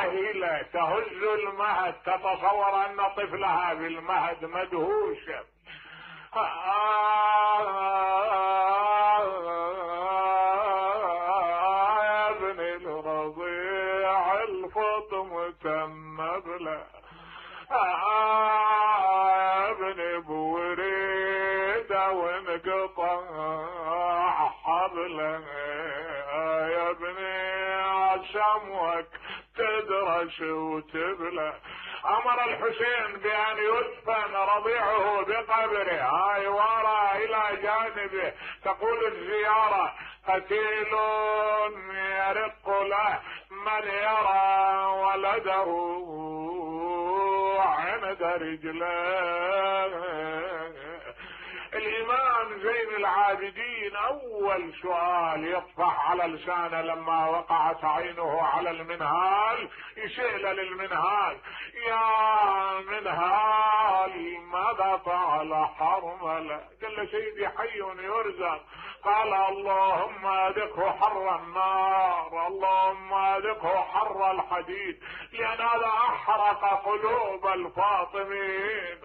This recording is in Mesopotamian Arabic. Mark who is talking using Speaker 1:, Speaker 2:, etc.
Speaker 1: راهلة تهز المهد تتصور ان طفلها بالمهد مدهوشة. يا ابن الرضيع الفطم تنبله، يا ابن بوريدة وانقطع حبله، يا ابني عشمك تدرش وتبله. امر الحسين بان يدفن رضيعه بقبره، هاي ورا الى جانبه. تقول الزيارة قتيل يرق له من يرى ولده عند رجله. الامام زين العابدين اول سؤال يطفح على لسانه لما وقعت عينه على المنهال، يسأل للمنهال: يا منهال ماذا فعل حرمله؟ قال له: سيدي حي يرزق. قال: اللهم اذقه حر النار، اللهم اذقه حر الحديد، لان هذا احرق قلوب الفاطمين.